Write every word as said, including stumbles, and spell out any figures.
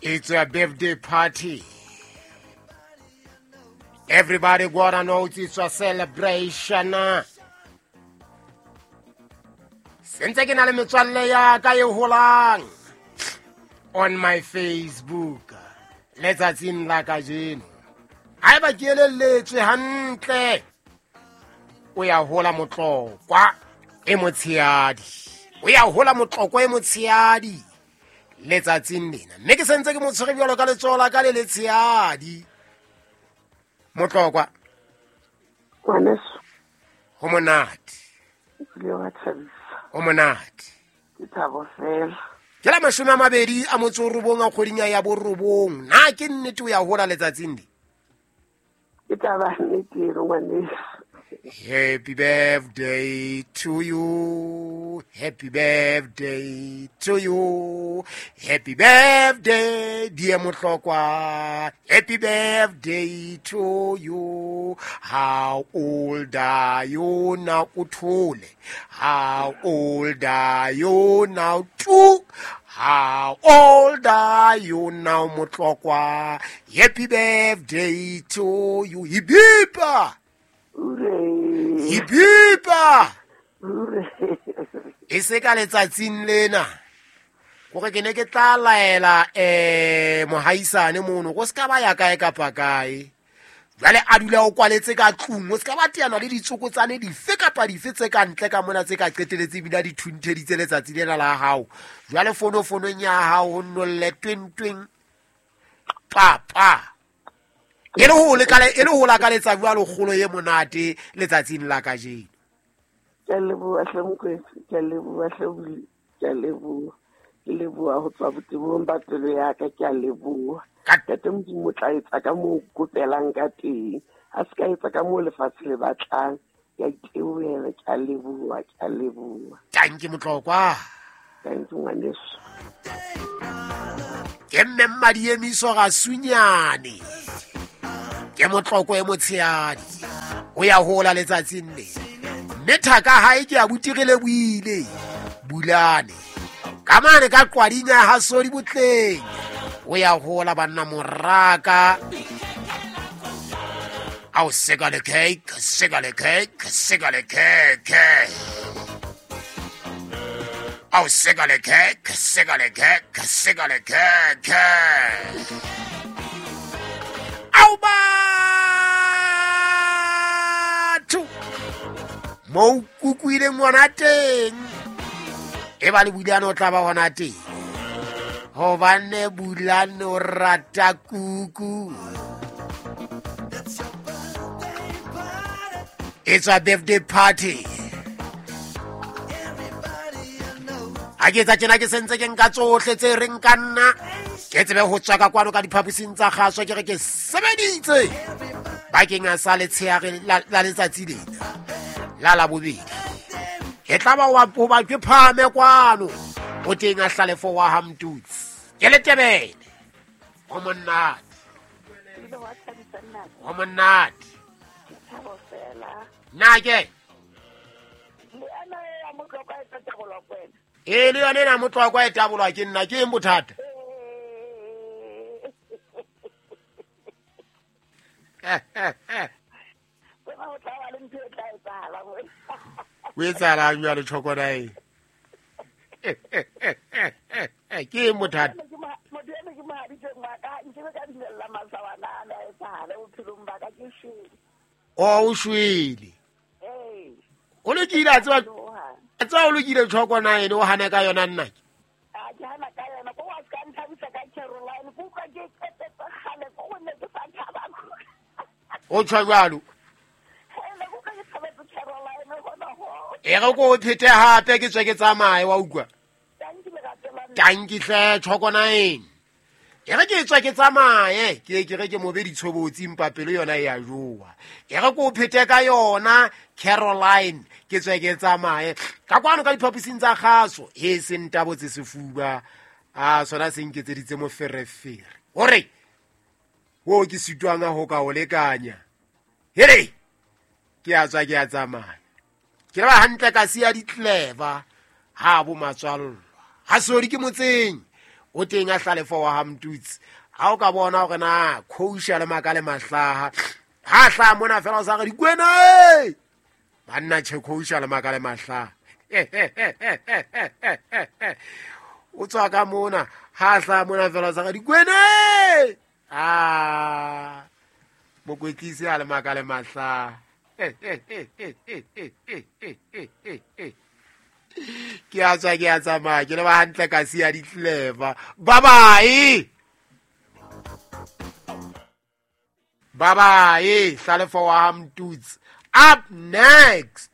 It's a birthday party. Everybody gotta know it's a celebration. Sentse ke na le metswalle ya ka e holang on my Facebook letsatsing la kajeno. Haeba ke elelletswe hantle, o ya hola Motlokwa e motshehadi. O ya hola Motlokwa e motshehadi letsatsing lena. Mme ke sentse ke mo tshwere bjalo ka letsoho la ka le letshehadi. Motlokwa. Ngwaneso. Ho monate. Ebile wa thabisa. Ho monate. Ke thabo fela. Ke la mashome a mabedi a motso o robong a kgweding ya borobong. Na ke nnete o ya hola letsatsing le? Ke taba nnete eno, ngwaneso. Happy birthday to you. Happy birthday to you. Happy birthday, dear Motlokwa. Happy birthday to you. How old are you now, Uthole? How old are you now, Two? How old are you now, Motlokwa? Happy birthday to you. Hibipa! Hibipa! E se ka letsatsing lena gore ke ne ke tla laela eh mohaisane mono go ska ba ya kae kapa kae. Jwale a dula o kwaletse ka tlung, o ska ba teana le ditsokotsane dife kapa dife tse ka ntle ka mona tse ka qeteletse ebile di thuntheditse letsatsi lena la hao. Jwale fono fonong ya hao ho nnolle tweng tweng pa pa. E le ho lekale e le ho lakaletsa jwalo kgolo e monate letsatsing la kajeno. Ke a leboha hle Mokwetsi, ke a leboha hle Buli, ke a leboha. Ke leboha ho tswa botebong ba pelo ya ka, ke a leboha. Ntate Modimo o tla etsa ka moo o kopelang ka teng. Ha se ka etsa ka moo lefatshe le batlang. Ke a itebohela, ke a leboha, ke a leboha. Tanki Motlokwa. Tanki ngwaneso. Ke mme Mmadiemiso ga sunyane. Ke Motlokwa e motshehadi. O ya hola letsatsing le. Mme thaka hae ke a butirile buile. Bulane. Ka mane ka qwadinya ha sodi botleng. O ya hola banna moraka. Ao seka le cake, seka le cake, seka le cake. Ao seka le cake, seka le cake, seka le cake. Ao batho. Mo kukuile ngwana teng. E ba le Bulane o tla ba hona teng. Hobane Bulane o rata kuku. It's a birthday party. Ha ke etsa tjena ke sentse ke nka tsohle tse reng ka nna. Ke tsebe ho tswa ka kwano ka diphaposing tsa kgaso ke re ke sebeditse. Bakeng a sa letsheare la letsatsi lena. La la bobedi. E tla ba wa hoba ke phame kwano. O teng a hlalefo wa ha Mtutsi. Ke letebele. Ho monate. Ho monate. Na ke? E le yone na Motlokwa e tabolwa ke nna ke eng bothata? O etsahalang jwale tjhokona e? Ke eng bothata? Motho eno ke mohaditseng wa ka, nkebe ka dumella masawana a ne a etsahale bophelong ba ka, ke shwele. O o shwele. Ee. O lokile a tseba, a tseba o lokile tjhokona ene o hana ka yona nna ke. A ke hana ka yona, ko wa ska nthabisa ka Caroline, ko utlwa ke qetetse kgale, ko go ne ke sa thaba. O tjho jwalo. Hele, ko utlwa ke thabetse Caroline hona ho. E re ko o phete hape ke tswe ke tsamaye wa utlwa. Tanki lerato la nna. Tanki hle tjhokona ene. E re ke tswe ke tsamaye, ke ke re ke mobe ditshobotsi mpa pelo yona e a jowa. E re ko o phete ka yona Caroline, ke tswe ke tsamaye. Ka kwano ka diphaposing tsa kgaso, e se ntabotse sefuba. A sona se nketseditse moferefere. Hore wo ke sitwang ho ka o lekanya. Here ke a tswa ke a tsamaya. Ke ba hantle ka siya ditleva ha bo matswallwa. Ha sodi ke motseng. O teng a Hlalefo wa ha Mtutsi. Ha o ka bona hore na Khousha le maka le mahlaha. Ha hlaha mona fela o sa re dikwena e. Banna che Khousha le maka le mahlaha. O tswa ka mona, ha hlaha mona fela o sa re dikwena e. Ah. Mokwetlisi a le maka le mahlaha. Ke a tswa ke a tsamaya ke le ba hantle ka siya ditleva. Bye bye. Bye bye. Hlalefo wa ha Mtutsi. Up next.